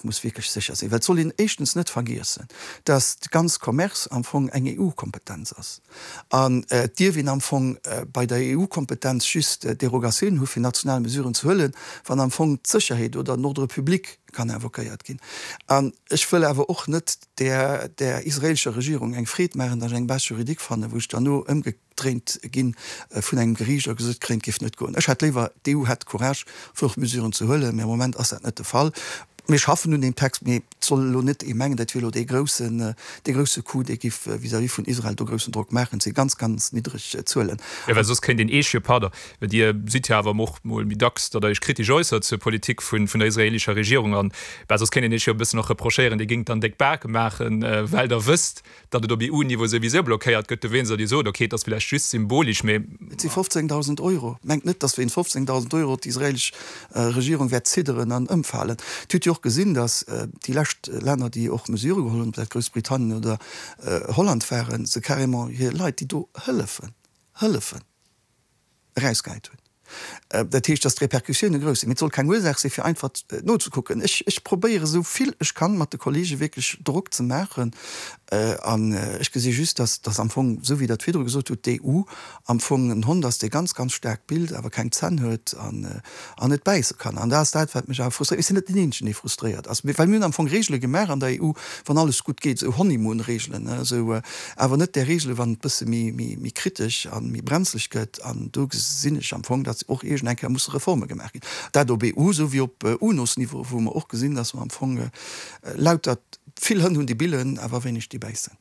Muss wierklech sécher sinn, well et soll een éischtens net vergiessen, dass d'ganz Commerce am Fong eng EU-Kompetenz ass an et dierf een am Fong bei der EU-Kompetenz just Derogatioun hu fir national Mesuren ze huelen, wann am Fong d'Sécherheet oder den Ordre public kann invoquéiert ginn. An ech wëll awer och net där där israelescher Regierung eng Freed maachen, dass ech eng Base juridique fannen, wou ech derno ëmge dréint ginn vun engem Geriicht a gesot kréien, et géif net goen. Ech hätt léiwer, d'EU hätt de Courage, fir och Mesuren ze huelen, mee am Moment ass dat net de Fall. Mir schaffen un deem Text, mee et soll elo net ee mengen, dat wier elo dee groussen, dee grousse Coup, dee géif vis-à-vis vun Israel do groussen Drock maachen. Et si ganz, ganz niddreg Zuelen. Jo, well soss kéint een Eech jo, pardon, well Dir sidd jo awer och mol méi dacks, datt Der Iech kritesch äussert zur Politik vun der israelischer Regierung, an, bah, soss kéint een Iech jo e bëssen och reprochéieren, Dir géingt dann déck Bake maachen, well Der wësst, datt et op EU-Niveau souwisou blockéiert gëtt, dowéinst datt Dir sot, ok, et ass villäicht just symbolisch, mee. Et si 15.000 Euro. Mengt net, datt wéinst 15.000 Euro d'israelesch Regierung wäert zidderen an ëmfalen. Dir hutt jo och gesinn, datt déi lescht Länner, déi och Mesure geholl hunn, ob dat Groussbritannien oder Holland waren, se carrément hir Leit, déi do hëllefen, hëllefen, erausgehäit hunn. Dat heescht, datt d'Repercussioune grouss sinn. Mee et soll keng Ursaach sinn, fir einfach nozekucken. Ech, ech probéiere esou vill ech kann, mat de Kollege wierklech Drock ze maachen. An ech gesi just, datt, datt am Fong, esou wéi Der et virdru gesot hutt, d'EU am Fong en Hond ass, dee ganz, ganz staark billt, awer keng Zänn huet an, an net bäisse kann. An dat ass dat, wat mech awer frustréiert. Ech sinn net deen Eenzegen, dee frustréiert ass. Well mir hunn am Fong Regele gemaach an der EU, wann alles gutt geet, esou Honeymoon-Regelen, esou, awer net där Regele wann et bësse méi, méi, méi kritesch a méi brenzleg gëtt. An do gesinn ech am Fong, datt och iergend eng Kéier musse Reforme gemaach ginn. Dat op EU esou wéi op UNOS-Niveau, wou mer och gesinn, datt mer am Fong lauter vill Hënn hunn, déi billen, awer wéineg, déi bäissen.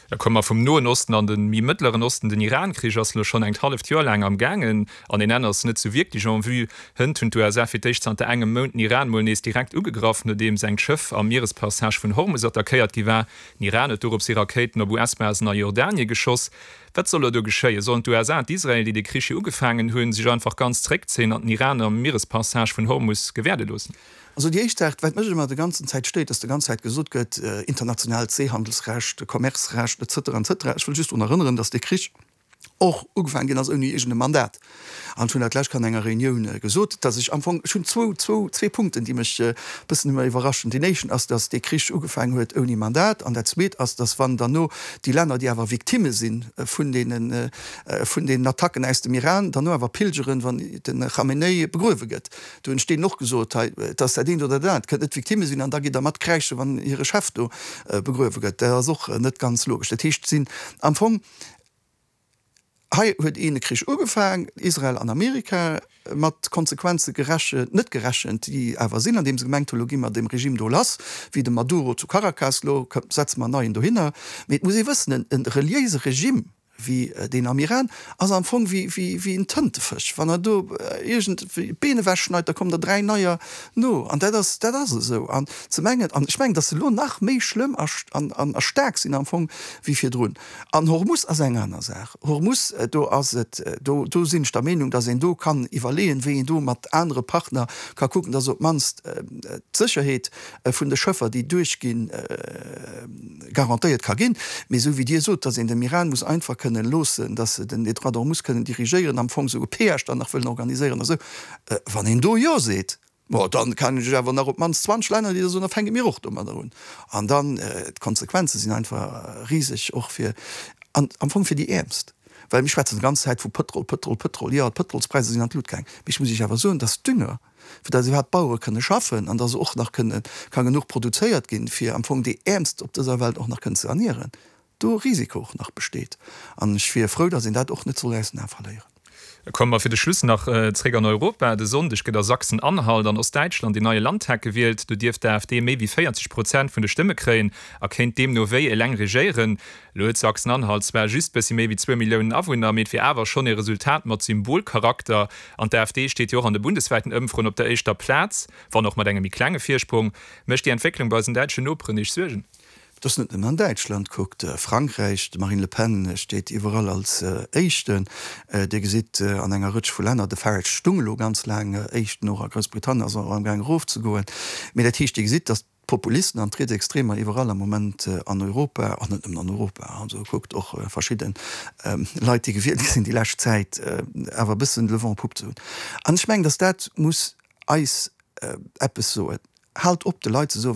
Da komme mer vum Noen Osten an de méi Mëttleren Osten. Den Iran-Krich ass elo schonn engt halleft Joer laang am gaangen an een Enn ass net sou wierklech en vue. Hënt hunn d'USA fir d'éischt zanter engem Mount den Iran mol nees direkt ugegraff, nodeems engt Schëff am Mierespassage vun Hormus attackéiert gi war. Den Iran huet dorops hi Rakéiten op US-Basen a Jordanie geschoss. Wat soll elo do geschéien? Sollen d'USA an d'Israel, déi de Krich jo ugefaangen hunn, sech einfach ganz zréckzéien an den Iran am Mierespassage vun Hormus gewäerde loossen? Also déi éischt Saach, wat mech ëmmer de ganzen Zäit stéiert, dass de ganz Zäit gesot gëtt, internationaalt Seehandelsrecht, Commercerecht, et cetera, et cetera. Ech wëll just drun erënneren, dass dee Krich och ugefaangen ginn ass ouni iergend e Mandat. An ech hunn dat d'lescht an enger Reunioun gesot, dass ech am Fong, ech hunn zwou, zwou, zwee Punkten, déi mech e bëssen ëmmer iwwerraschen. Deen éischten ass, dass dee Krich ugefaangen huet ouni Mandat. An dat Zweet ass, dass wann derno déi Länner, déi awer Victimme si vun deenen, vun deenen Attacken aus dem Iran, derno awer pilgeren, wann de Khamenei begruewe gëtt. Do hunn ech deenen och gesot, hei, et ass dat eent oder dat anert, et kënnt net Victimme sinn an da gitt Der mat kräischen, wann hire Chef do begruewe gëtt. Dat ass och net ganz logesch. Dat heescht, et sinn am Fong, hei huet een e Krich ugefaang, Israel an Amerika, mat Konsequenze gerechent, net gerechent, déi awer sinn, andeem se gemengt hunn, elo gi mer deem Regime do lass, wéi dem Maduro zu Caracas, elo setze mer en neien dohinner. Mee et muss ee wëssen, e reliéise Regime, wéi deen am Iran, ass am Fong wéi en Tëntefësch. Wann der do iergend d'Been ewechschneit, da kommen der 3 neier no. An dat ass, dat ass esou. An ze mengen, an ech mengen, datt se elo nach méi schlëmm a a staark sinn am Fong wéi virdrun. An Hormus ass eng aner Saach. Hormus, do ass et, do, do sinn ech der Meenung, datt een do kann iwwerleeën, wéi een do mat anere Partner ka kucken, datt op d'mannst d'Sécherheet vun de Schëffer, déi duerchginn, garantéiert ka ginn. Mee esou wéi Dir sot, datt een dem Iran muss einfach kënnen loossen, datt se den Détroit d'Ormuz kënnen dirigéieren, am Fong esou e Péage dann nach wëllen organiséieren a sou, wann een do Jo seet, bon, dann kennen ech awer nach op d'mannst 20 Länner, déi da soen, da fänke mir och domadder un. An dann, d'Konsequenze sinn einfach riseg, och fir, an am Fong fir déi Äermst. Well mir schwätzen d'ganz Zäit vu Pëtrol, Pëtrol, Pëtrol. Jo, d'Pëtrolspräisser sinn an d'Lut gaang. Mee ech muss Iech awer soen, datt Dünger, fir datt iwwerhaapt d'Bauere kënne schaffen an datt och nach kënne ka genuch produzéiert ginn, fir am Fong déi Äermst op dëser Welt och nach kënnen ze ernieren, do e Risiko och nach besteet. An ech wier frou, datt een dat och net soll aus den Ae verléieren. Komme mer fir de Schluss nach zréck an Europa. De Sonndeg gëtt a Sachsen-Anhalt an Ostdäitschland een neie Landtag gewielt. Do dierft d'AfD méi wéi 40 Prozent vun de Stëmme kréien a kéint deemno wéi eleng regéieren. Elo huet Sachsen-Anhalt zwar just bëssi méi wéi zwou Milliounen Awunner, mee et wier awer schonn ee Resultat mat Symbolcharakter. An d'AfD steet jo och an de bundeswäiten Ëmfroen op der éischter Plaz, wann och mat engem méi klenge Virsprong. Mécht déi Entwécklung bei eisen däitschen Noperen Iech Suergen? Et ass net nëmmen an Däitschland. Kuckt Frankräich, d'Marine Le Pen steet iwwerall als Éischten. Dir gesitt an enger Rëtsch vu Länner, de Farage stung elo ganz laang Éischten, och a Groussbritannien ass en och amgaang erofzegoen. Mee dat heescht, Dir gesitt, datt D'Populisten an d'Rietsextremer iwwerall am Moment an Europa, an net nëmmen an Europa, also kuckt och verschidde Leit, déi gewielt gi sinn déi lescht Zäit, awer e bëssen le vent en poupe ze hunn. An ech mengen, datt dat muss eis eppes soen. Haalt op de Leit ze soen, wa.